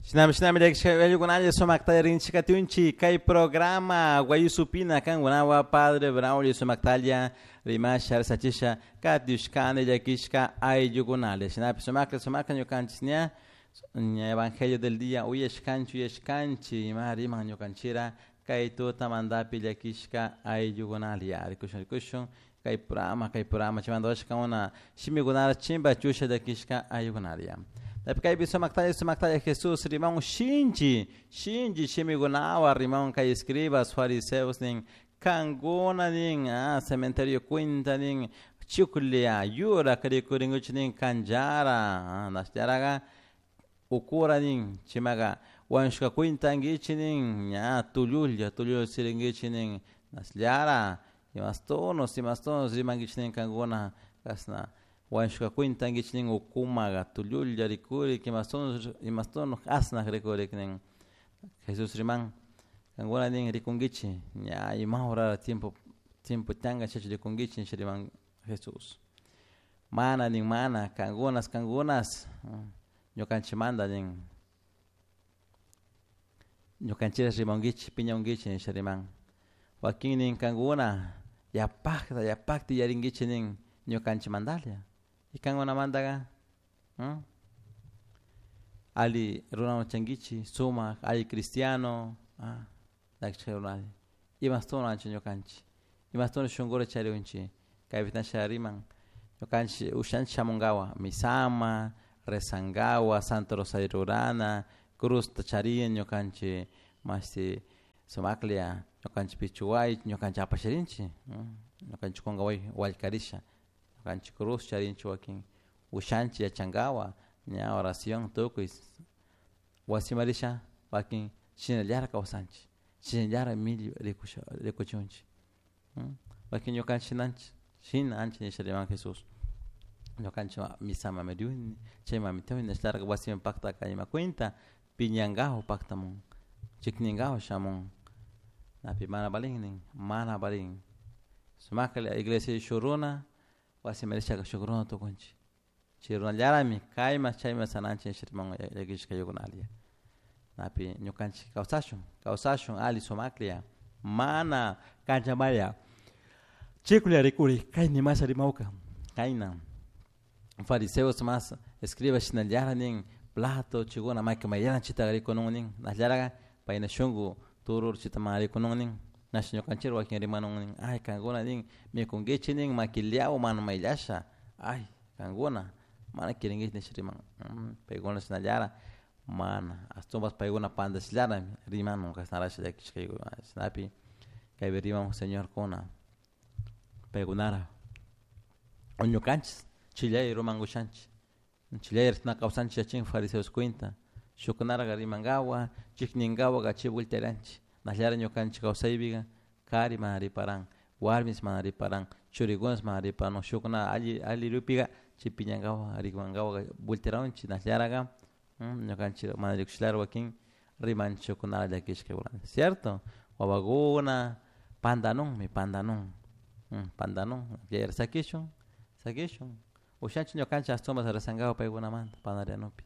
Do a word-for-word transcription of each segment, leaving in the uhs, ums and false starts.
Shinami shinami llakishka sumakta rinchikatunchi kay programa Wayusupina kankunawan Padre Braulio sumaktalla rimasha risachisha katiushkani llakishka ayllukunalla shinapi sumakla sumakla ñukanchik ña ña evangelio del día uyashkanchik uyashkanchik ima riman ñukanchira kay tutamantapi llakishka ayllukunalla rikushun rikushun kay programa kay programa chaymanta washkakuna shimikunata chimpachusha llakishka ayllukunalla. Kaypi sumaktalla sumaktalla Jesús riman shinchi shinchi shimikunawan riman kay escribas fariseos nin kankuna nin ah, cementerio cuenta nin chuklia yura rikurinkuchik nin kanchara nashllaraka ukura nin chimaka wañushka cuenta ankichik nin ña tullulla tullulla sirinkichik nin nashllara imastunos imastunos rimankichik nin kankuna kashna wañushka cuenta ankichik nin ukumaka tullulla rikurik imastunos imastunos asnak rikurik nin Jesús riman kankuna nin rikunkichik ña ima horara tiempo tiempo tiyanka chachu rikunkichik nisha riman Jesús mana nin mana kankunas kankunas ñukanchikmanta nin ñukanchik rimankichik piñankichik nisha riman wakin nin kankuna yapakta yapakta yarinkichik nin ñukanchikmantalla y kankunamantaka alli runawan chankichik sumak alli cristiano llakishka runalla imashtuwan ñukanchik imashtuwan shunkura charinchik kaypi nasha riman ñukanchik ushanchik shamunkawa misama rezankawa santo rosario rurana cruzta charin ñukanchik mashti sumaklla ñukanchik pichuway ñukanchik apasharinchik ñukanchik kunkaway wallkarisha ñukanchik cruz charinchik wakin ushanchik yachankawa ña oración tukuy wasiman risha wakin shinallara kawsanchik shinallara millo rikusha rikuchunchik wakin ñukanchik shinanchik shina anchik nisha riman Jesús ñukanchik misama riyuni chayman tiyuni nishlarka wasiman paktaka ima cuenta piñankawa paktamun chikninkawa shamun napi mana valin nin mana valin sumaklla iglesia shuk runa wasiman rishaka shuk runa tukunchik chay runallarami kayman chayman sananchik nisha riman llakishka ayllukunalla napi ñukanchik kawsashun kawsashun alli sumaklla mana kanchamaya chiklla rikuri kayni masha rimawka kayna fariseos mas escribas shinallara nin plato chikuna maki mayllana chitaka rikunun nin nashllaraka payna shunku turur chita mana rikunun nin nash ñukanchik wakin rimanun nin ay kankuna nin mikunkichik nin makiliawan mana mayllasha ay kankuna mana kirinkichik nisha riman paykuna shinallara mana ashtawanpas paykuna pandashllarami rimanun kashnarasha llakishka shinapi kaypi riman señorkuna paykunara ñukanchik chillay rumankushanchik chillay na kawsanchik yachin fariseos cuenta shukkunaraka rimankawa chikninkawa chay voltearanchik nashllara ñukanchik kawsaypika kari mana riparan warmis mana riparan churikunas mana riparan shukkuna alli alli rupika chay piñankawa rimankawa voltearanchik nashllaraka ñukanchik mana rikushlara wakin rimanchik shukkunara llakishka cierto wawakuna pandanunmi pandanun pandanun sakishun sakishun ushanchik ñukanchik ashtawanpas rezankawa paykunamanta pandarianupi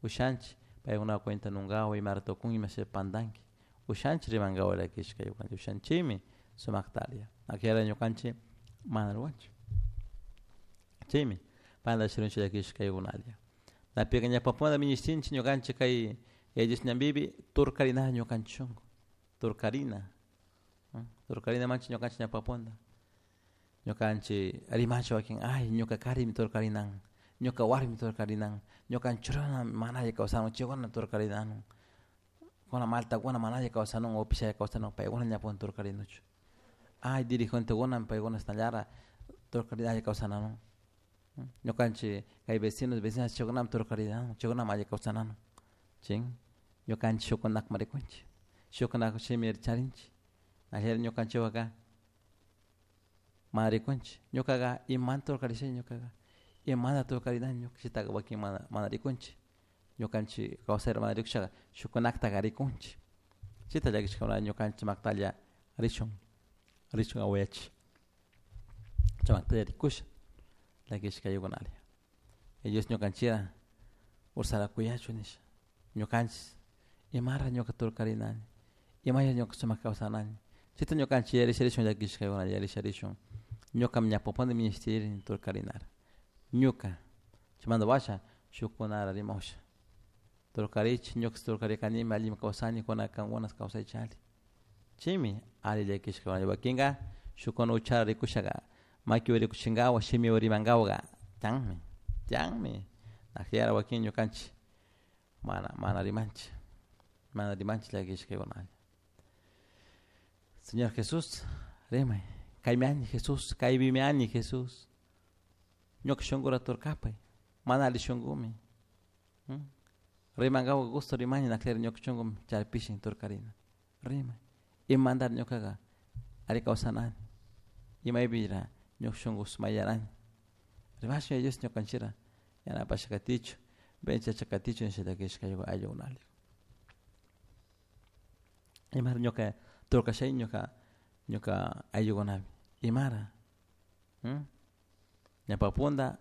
ushanchik paykuna cuenta nunkawa imara tukun imasha pandanki ushanchik rimankawa llakishka ushanchikmi sumaktalla akllala ñukanchik mana ruwanchik chaymi pandashirunchik llakishka ayllukunalla napika ñawpapuna minishtinchik ñukanchik kay Yaya ñanpipi turkarina ñukanchik shunku turkarina turkarina manchik ñukanchik ñawpapunda ñukanchik rimanchik wakin ay ñuka karimi turkarinan ñuka warmi turkarinan ñukanchik runa mana alli kawsanun chaykuna turkarinanun kuna maltakuna mana alli kawsanun upishalla kawsanun paykuna ñapun turkarinuchu ay dirigentekuna paykuna chashnallara turkarina alli kawsananun ñukanchik kay vecinos vecinas chaykunami turkarinanun chaykunami alli kawsananun chin ñukanchik shukkunakman rikunchik shukkunak shimi charinchik ashalla ñukanchikwaka mana rikunchik ñukaka imanta turkarisha ñukaka imanta turkarinani ñuka chaytaka wakin mana mana rikunchik ñukanchik kawsayta mana rikushaka shukkunaktaka rikunchik chayta llakishkuna ñukanchik maktalla rishun rishun awayachik chaymaktalla rikusha llakishka ayllukunalla Dios ñukanchikta ursara kuyachun nisha ñukanchik Imara ñuka turkarinani, imaya ñuka sumak kawsanani, chayta ñukanchik yarisharishun llakishkakuna yarisharishun ñukami ñawpapuni minishtirin turkarinara ñuka chaymanta washa shukkunara rimausha turkarichik ñuka turkarikanimi allimi kawsani kuna kankuna kawsaychik alli chaymi alli llakishkakuna wakinka shukkuna uchala rikushaka makiwan rikuchinkawa shimiwan rimankawaka tiyanmi tiyanmi nakllera wakin ñukanchik mana mana rimanchik mana rimanchik llakishkakuna. Señor Jesús, rimay, kaymi ani Jesús, kaypimi ani Jesús. Ñuka shunkura turkapay, mana alli shunkumi. Rimankawa gusto rimani nakllera ñuka shunkumi chaypishin turkarina. Rimay, imandar ñukaka alli kawsanani, imaypira ñuka shunku sumayarani. Rimashun Dios ñukanchira yanapasha katichu, benchacha katichu nisha llakishka ayllukunali. Imara ñuka turkashay ñuka ñuka ayllukunapi imara ñawpapunta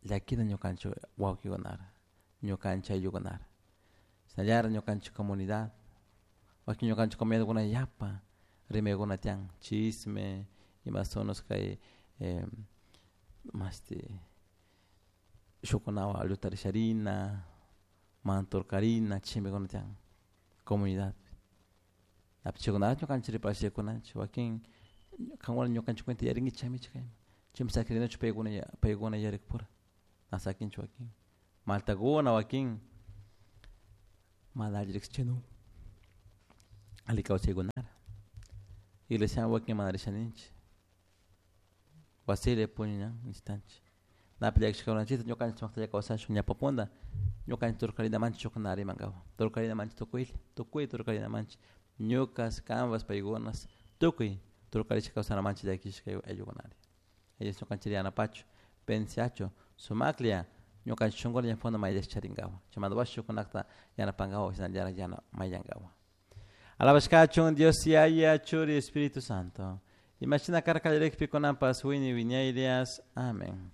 llakina ñukanchik wawkikunara ñukanchik ayllukunara shinallara ñukanchik comunidad wakin ñukanchik comunidadkuna yapa rimaykuna tiyan chisme imasonos kay eh, mashti shukkunawan llutarisharina manturkarina chimikuna tiyan comunidad chaykunata ñukanchik riparashkunanchik wakin kankuna ñukanchik cuenta yarinkichik chaymichik kayman chaymi sakirinachu paykuna paykuna yarikpura na sakinchik wakin maltakuna wakin mana alli riksichinu alli kawsaykunara iglesiaman wakin mana rishaninchik wasilla puñuna necesitanchik napi llakishkakunanchikta ñukanchik sumaktalla kawsashun ñawpapunta ñukanchik turkarinamanchik shukuna rimankapak turkarinamanchik tukuylla tukuy turkarinamanchik ñukas kanpas paykunas tukuy turkarishka kawsanamanchik llakishka ayllukunari ellos ñukanchik yanapachu pensiachu sumaklla ñukanchik shunkula ñawpakuna mayllash charinkapak chaymanta washa shukkunakta yanapankapak shinallara yana mayllankapak. Alabashkachun Dios Yaya, Churi, Espíritu Santo. Imashina karka kallarikpi kunanpas wiñay wiñaylias. Amén.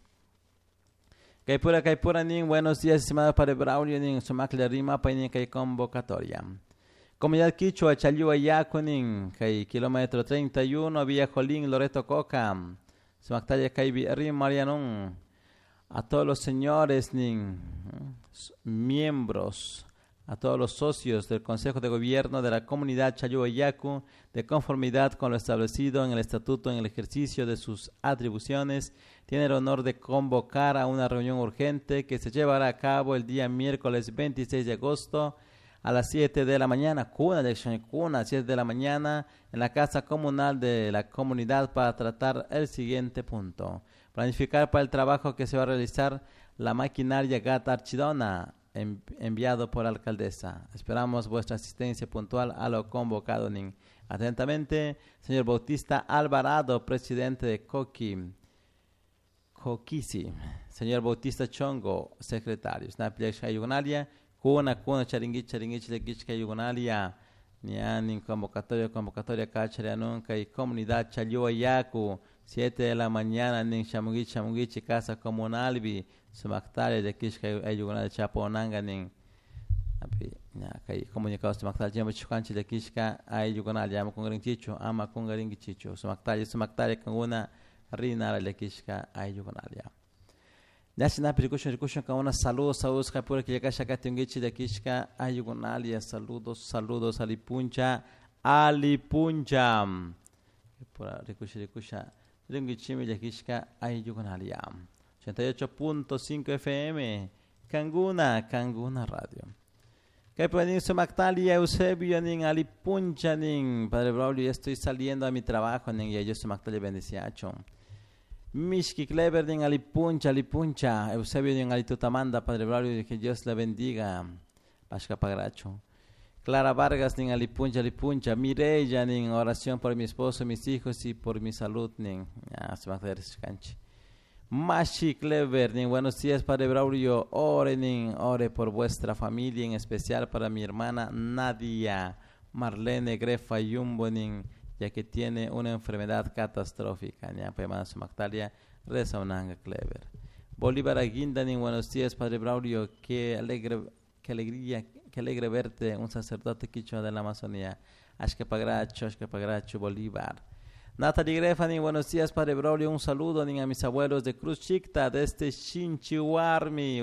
Kaypura kaypura nin buenos días estimado Padre Braulio nin sumaklla rimapay nin kay convocatoria. Comunidad Quichua, Challua, Yaku kay kilómetro treinta y uno, Villa Jolín, Loreto Coca. Sumaktalla kaypi rimarianun. A todos los señores nin miembros, a todos los socios del Consejo de Gobierno de la Comunidad Challua Yaku, de conformidad con lo establecido en el Estatuto en el ejercicio de sus atribuciones, tiene el honor de convocar a una reunión urgente que se llevará a cabo el día miércoles veintiséis de agosto a las siete de la mañana, cuna, cuna, siete de la mañana, en la Casa Comunal de la Comunidad para tratar el siguiente punto. Planificar para el trabajo que se va a realizar la maquinaria Gata Archidona, enviado por la alcaldesa. Esperamos vuestra asistencia puntual a lo convocado. Nin. Atentamente, señor Bautista Alvarado, presidente de Coqui, Coquisi. Señor Bautista Chongo, secretario. Kuna, kuna, charinguich, charinguich, lequichka, yugunalia. Nianin, convocatoria, convocatoria, cacharia, nunca, y comunidad Challua Yaku, siete de la mañana, nin, chamunguich, chamunguich, casa comunalbi, sumaktalia, lequichka, ayugunalia, chaponanga, nin. Api, ña, kay comunicado sumaktalia, chimba chukanchi, lequichka, ayugunalia, ama kungarinchichu, ama kungarinchichu, sumaktalia, sumaktalia, kanguna, rinara, lequichka, ayugunalia. Ñashinapi rikushun rikushun kauna saludos saludos kapura killakasha katingichi llakishka ayugunalia saludos saludos alipuncha alipuncha pura rikusha rikusha ringichimi llakishka ayugunalia ochenta y ocho punto cinco F M Kanguna Kanguna Radio. Kaypa sumaktalia Eusebio nin alipuncha nin Padre Braulio, ya estoy saliendo a mi trabajo nin y ellos sumaktalia bendiciacho. Mishki Clever nin alipuncha alipuncha Eusebio nin alitutamanda Padre Braulio, que Dios la bendiga. Pashka pagracho. Clara Vargas nin alipuncha alipuncha Mireya nin oración por mi esposo, mis hijos y por mi salud nin. Ya se va a hacer canchi. Mashi Clever nin buenos días Padre Braulio, ore nin, ore por vuestra familia, en especial para mi hermana Nadia Marlene Grefa Yumbo nin, ya que tiene una enfermedad catastrófica. Sumaktalia, reza unanga Clever. Bolívar Aguinda, nin buenos días, Padre Braulio, qué alegre, qué alegría, Qué alegre verte, un sacerdote quichua de la Amazonía. Ashkapagrachu, Ashkapagrachu, Bolívar. Natalie Grefa, buenos días, Padre Braulio, un saludo nin a mis abuelos de Cruz Chicta, desde Chinchihuarmi,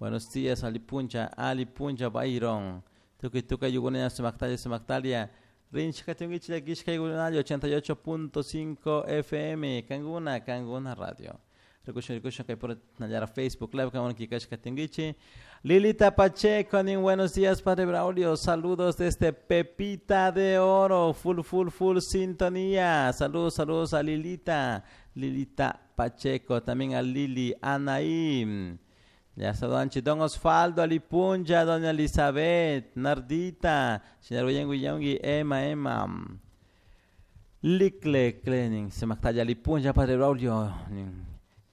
Buenos días, Alipuncha, Alipuncha, Byron. Tukuy tukuy yugunina sumaktalia, sumaktalia. Rinchikatungichi llakishka yugunallo, ochenta y ocho punto cinco F M, Kanguna, Kanguna Radio. Rikushun, rikushun, kay puro nallara Facebook Live, kanguna kikashkatungichi. Lilita Pacheco, nin buenos días, Padre Braulio. Saludos desde Pepita de Oro, full, full, full sintonía. Saludos, saludos a Lilita, Lilita Pacheco, también a Lili Anaí. Ya saludan Don Osvaldo, Alipunja, Doña Elizabeth, Nardita, señor William, Emma, Emma. Licle, Clening, se mactalla Alipunja, Padre Braulio.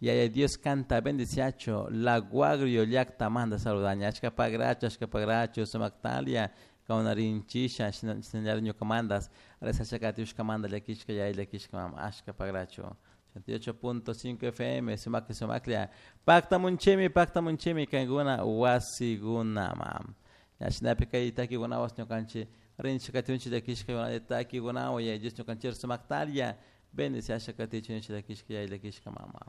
Y ay, Dios canta, bendiciacho, la guagrio, llacta, manda saludaña, ashkapagracho, ashkapagracho, sumactalia, kaunarin chisha, señor ñucamandas, resachacatiushka manda, llakishka, yay, llakishka, mama, ashkapagracho. ochenta y ocho punto cinco F M, sumakli, sumaklia, pacta munchimi, pacta munchimi, kanguna, wasigunama. Yashinapi kay taki gunawas ñukanchi, rinchi katiunchi llakishka, yunay taki gunawa, yay, Dios ñukanchir sumaktalia, bendiciasha katichunchi llakishka, yay, llakishka, mama.